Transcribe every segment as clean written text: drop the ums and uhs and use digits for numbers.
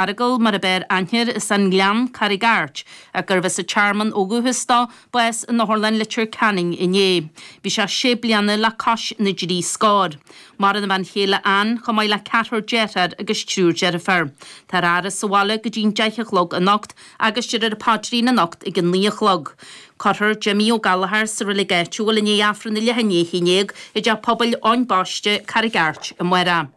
Fheargal, mar ab fhearr aithne air, as an nGleann, Carraig Airt, ach gurbh as an Tearmann ó dhúchas dó, bás in Otharlann Leitir Ceanainn inné. Bhí sé sé bliana le cois na dtrí scór. Maireann a bhean chéile Ann, chomh maith le ceathrar dearthár agus triúr deirfiúr. Táthar á fhaire sa bhaile go dtí'n 10 a chlog anocht agus déarfar an paidrín anocht ag an 9 a chlog. Cuirfear Jimmy Ó Gallchóir sa reilig áitiúil i ndiaidh Aifreann a leath i ndiaidh a 11 i dTeach Pobail Eoin Baiste, Carraig Airt, amárach.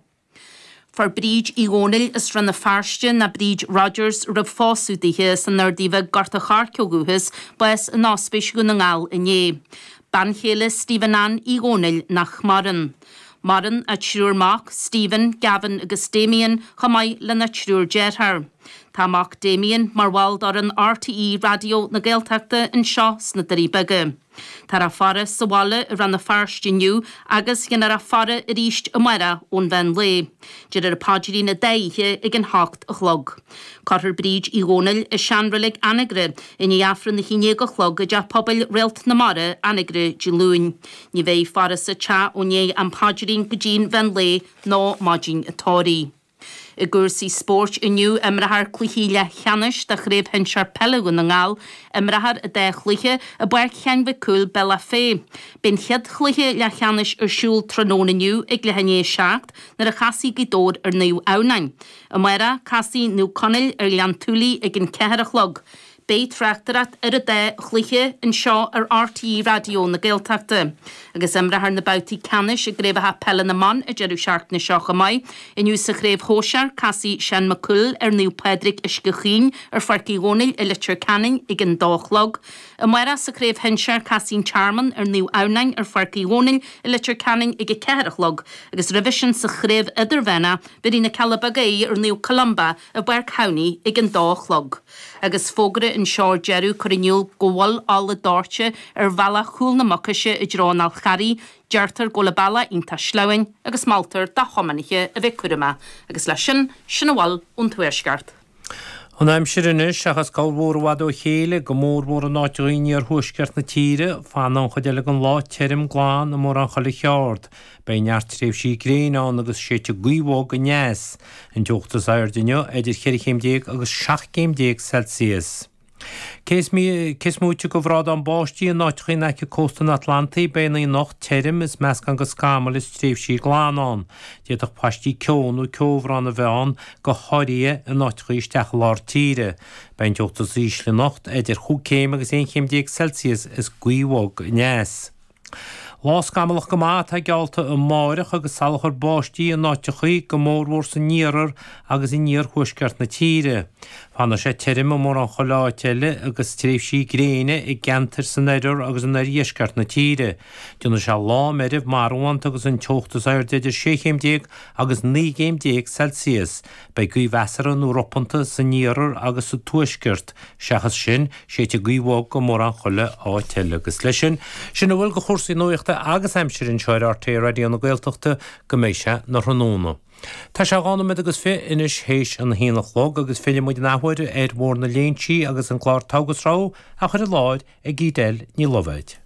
Fuair Bríd Uí Dhónaill as Rann na Feirste, ná Bríd Rodgers roimh phósadh dithe, as an Ardaidh Bheag, Gort a' Choirce ó dhúchas, bás in Ospís Dhún na nGall inné. Bean chéile Stephen Ann Uí Dhónaill nach maireann. Maireann a triúr mac, Stephen, Gavin agus Damien, chomh maith lena triúr dearthár. Tá a mac Damien mar bhall d'fhoireann RTÉ Raidió na Gaeltachta anseo sna Doirí Beaga. Táthar á faire sa bhaile i Rann na Feirste inniu agus déanfar é a fhaire arís amárach ón mheán lae. Déarfar an paidrín an dá oíche ag an hocht a chlog. Cuirfear Bríd Uí Dhónaill i seanreilig Anagaire i ndiaidh Aifreann a haon déag a chlog i dTeach Pobail Réalt na Mara, Anagaire, Dé Luain. Ní bheidh faire sa teach ó ndiaidh an paidrín go dtí'n mheán lae nó maidin an tórraimh. I gcúrsaí spóirt inniu, imreofar cluichí leathcheannais de Chraobh Shinsear Peile Dhún na nGall. Imreofar an dá chluiche i bPáirc Sheáin Mhic Cumhaill, Bealach Féich. Beidh an chéad chluiche leathcheannais ar siúl tráthnóna inniu ag leath i ndiaidh a 7 nuair a chasfaidh Gaoth Dobhair ar Naomh Adhamhnáin. Amárach, casfaidh Naomh Conaill ar Ghleann tSúilí ag an 4 a chlog. Beidh tráchtaireacht ar an dá chluiche anseo ar RTÉ Raidió na Gaeltachta. Agus imreofar na babhtaí ceannais i gcraobhacha peile na mban an deireadh seachtaine seo chomh maith. Inniu sa chraobh shóisear, casfaidh Seán Mac Cumhaill ar Naomh Pádraig Uisce Chaoin ar Pháirc Uí Dhónaill i Leitir Ceanainn ag an dó a chlog. Amárach sa chraobh shinsir, casfaidh an Tearmann ar Naomh Adhamhnáin ar Pháirc Uí Dhónaill i Leitir Ceanainn ag a ceathair a chlog. Agus roimhe sin sa chraobh idirmheánach, bhéarfaidh na Cealla Beaga aghaidh ar Naomh Columba i bPáirc Thamhnaigh ag an dó a chlog. Agus fógra anseo ar deireadh ag cur in iúl go bhfuil ola dóite ar bhealach Chúl na Mucaise i dtreo an Fhál Charraigh, deirtear go bhfuil an bealach iontach sleamhain agus moltar do thiománaithe a bheith cúramach. Agus leis sin, sin a bhfuil ón Tuaisceart. An aimsir anois, seachas corrmhúr i bhfad ó chéile, go mórmhór in áiteacha in iarthuaisceart na tíre, fanfaidh an chuid eile den lá tirim glan i mórán chuile cheard. Beidh neart tréimhsí gréine ann agus séidfidh gaoth bhog aneas. An teocht is airde inniu idir cheithre chéim déag agus 17 gcéim Celsius. Cé is móite de bhrádán báistí in áiteacha in aice cósta an Atlantaigh, beidh an oíche anocht tirim is meascán de scamaill is tréimhsí glana ann. D'fhéadfadh paistí ceo nó ceobhrán a bheith ann, go háirithe in áiteacha isteach i lár tíre. Beidh an teocht is ísle anocht idir chúig chéim agus 11 chéim Celsius is gaoth bhog aneas. Lá scamallach go maith atá geallta amáireach agus salachar báistí in áiteachaí, go mórmhór san iarthar agus in iarthuaisceart na tíre. Fanfaidh sé tirim i mórán chuile áit eile agus tréimhsí gréine i gceantair san oirthear agus in oirdheisceart na tíre. Déanfaidh sé lá meirbh marbhánta agus an teocht is airde idir 16 chéim agus 19 gcéim Celsius. Beidh gaoth mheasartha nó ropanta san iarthar agus sa tuaisceart. Seachas sin, séidfidh gaoth bhog i mórán chuile áit eile. Agus leis sin, sin a bhfuil de chúrsaí nuachta agus aimsire anseo ar RTÉ Raidió na Gaeltachta go mbeidh sé 'na thráthnóna. Tá sé dhá nóiméad agus fi anois théis an haon a chlog agus fillfidh muid an athuair ar Bhóthar na Léinsí agus an clár Togha is Rogha á chur i láthair ag Edel Ní Loibhéid.